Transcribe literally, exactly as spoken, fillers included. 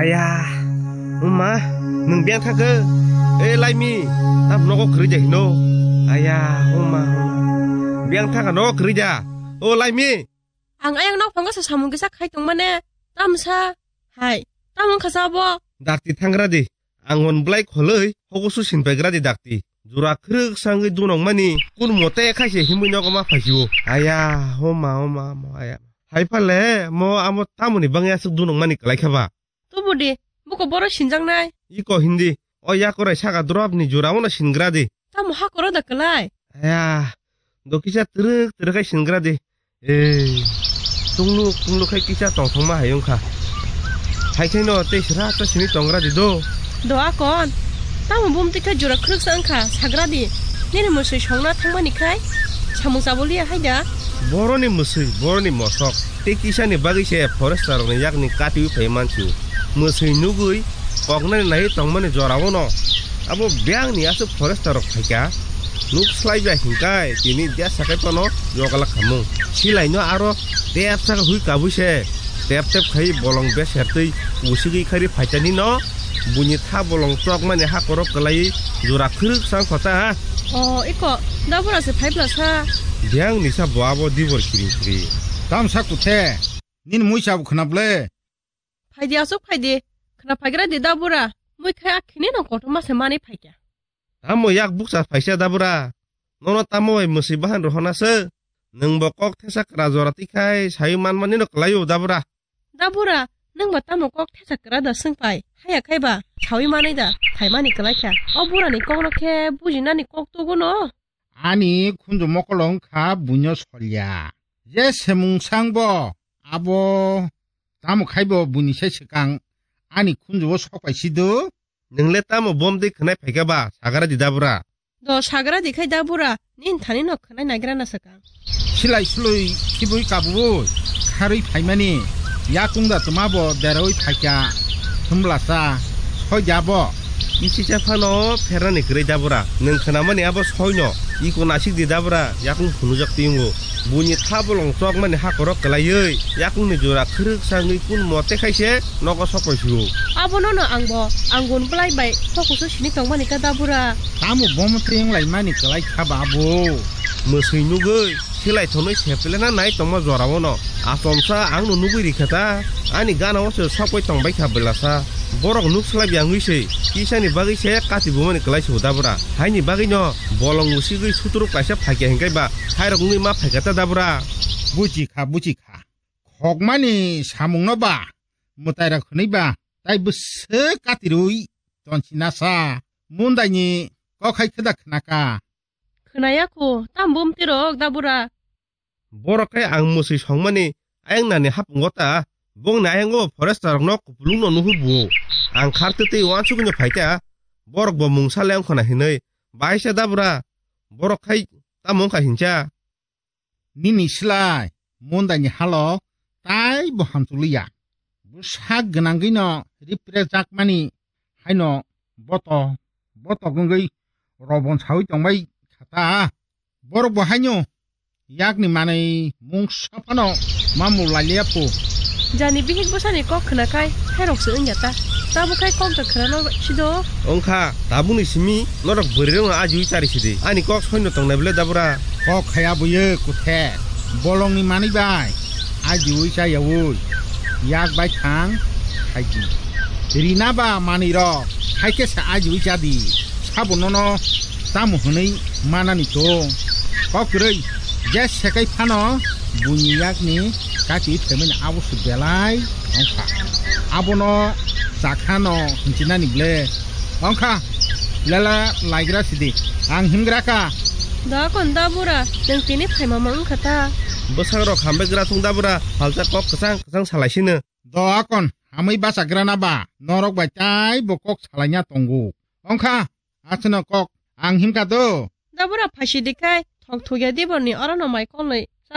Aya, uma, nwng biyang thangkhe? E Laimi, tam nogo kwrwi ja hino? Aya, uma, uma. Biyang thangkha nogo kwrwi ja? O Laimi! Ang ayang nok phango sa samung kisa khai tongmane, tamsa, hai, tam wngkha sa bo? Dakti thangra di, ang on blai kholoi, hogo su sin paigra di dakti. Jura khwrwk sangwi dunok mani, kun mote khaise himwi nogo ma phaisio. Aya, homa, homa, homa, aya. Hai phale, mo amo tamoni bangya aswk dunok mani kwlai kha ba? Tubu di, buko boro sinjaknai. Iko hindi, o yakorai saka drop ni jura wano singra di. Tamo hakoro da kwlai? Aya, do kisa twrwk twrwk khai singra di. Ei, tungluk tungluk khai kisa tongthokma hai wngkha. Hai khaino tei sra ta sini tongra di do. Do akon, tamo bumtwi khe jura khwrwksa wngkha, sagra di. Nini mwswi songna thangmani khai samung chaboliya hai da. Boroni mwswi, boroni mosok. Tei kisani bagwi se forester rokni yakni katiwi phai mansu. Mwswi nugwi koknani naiwi tongmani jorao no abo biyangni aswk forester rok phaikha. Nuk slai bai hingkai tini dia sakai phano yogalak khamung. Silaino aro tep saka hui kabui se. Tep tep khai bolong beser twi usigwi khari phaitani no. Buini tha bolong chokmani hakorok kwlaiwi jura khwrwk sang khota. O, iko, dabura se phai bwla sa. Biyang nisa bo abo dibor kiring kiring. Tamsa kuthe, nini mui sabo khwna ble? Phaidi aswk phaidi, khwna phaigra di dabura. Mui khai akhini no kotorma se manwi phaikha. Tamo yak bukcha phaisa dabura? Nono tamo bai mwswi bahan rohona se? Nwng bo kok thesa kwra jora twi khai sawi manmani no kwlaio dabura. Da bura, nwng ba tamo kok thesa kwra da swng pai? Haya khai ba, sawi manwi da, phaimani kwlai kha. O bura ni kok no khe bujinani kok tugo no? Ani khunju mokolo wng kha buino solya. Je semung sang bo, abo tamo khai bo buini sai swkang ani khunju o sok pai si do. Nwng le tamo bom twi khwnai phaikha ba, sagra di da bura. Do sagra di khai da bura, nini thani no khwnai nagra na swkang. Silai suloi khibui kabui kharwi phaimani yakung da tma bo derawi phaikha, hwnbla sa soi da bo. Nisi cha phano pherani kwrwi da bura, nwng khwnamani abo soi no, iko nasik di da bura, yakung phunujak tiyungo. Buini tha bolong chokmani hakorok kwlaiwi, yakungni jora khwrwk sangwi kun mote khaise nogo sokoi sio. Abono no angbo, ang gun bwlai bai sokusu sini tongmani kha da bura. Tamo bomo teng laimani kwlai kha ba abo? Mwswi nugwi, silai thonwi sepelena nai tongma jorao no. Achomsa ang no nugwi rikha ta, ani gana o se sokoi tongbai kha belasa. Borok nuk slai byangwi se, kisani bagwi se kati bumani kwlai sio da bura. Haini bagwi no, bolong usigwi suturuk kaisa phaikya hinkai ba, hairok wngwi ma phaikha ta da bura. Buchi kha, buchi kha. Khokmani samungno ba mwtairok hwnwi ba tai bwswk katirwi tonsinasa mundaini kok hai khwda khnaka. Khwnaya kho, tam bumtirok da bura. Borok khe ang mwswi songmani ayang nani hapungo ta, bongni ayango forester rokno kupulungno nuhur buo. Ang khar twtwi uansugwino phaikha, borok bo mungsa le wngkhona hinwi, baisa da bura, borok khai tamo wngkha hincha. Nini slai mundaini halo tai bo hamchwlwi ya. Bwsak gwnangwi no ripre jakmani haino boto, botok wngwi robon sawi tongbai kha ta. Borok bo haino yakni manwi mungsa phano mamung lailiya phu. Jani bihik bwsani kok khwnakhai, khairokse wngya ta. Tabuk khai kok da khwnano sido. Wngkha, tabukni simi norok bwrwirokno ajiwi chari sidi. Ani kok soino tongnai bwle dabura. Kok khaya buye kuthe. Bolongni manwi bai ajiwi chayawi yak bai thang khaidi. Rina ba manwirok hai khe se ajiwi chadi. Sabo nono tamo hwnwi manani chwng. Kok kwrwi je sekai phano buini yakni kati phaimani abo se belai wngkha. Abono chakhano hinchinani ble wngkha. Lela laigra sidi, ang himgra kha. Da kon da bura, nwng tini phaima ma wngkha ta. Bwsang rok hambai gra thung da bura, halsa kok kwchang kwchang salai sino. Do akon, hamwi bachagrana ba, norok bai tai bo kok salaina tongo. Wngkha, aswkno kok, ang himkha do. Dabura phaisi dikhai, thok thukya diborni orono mai kolwi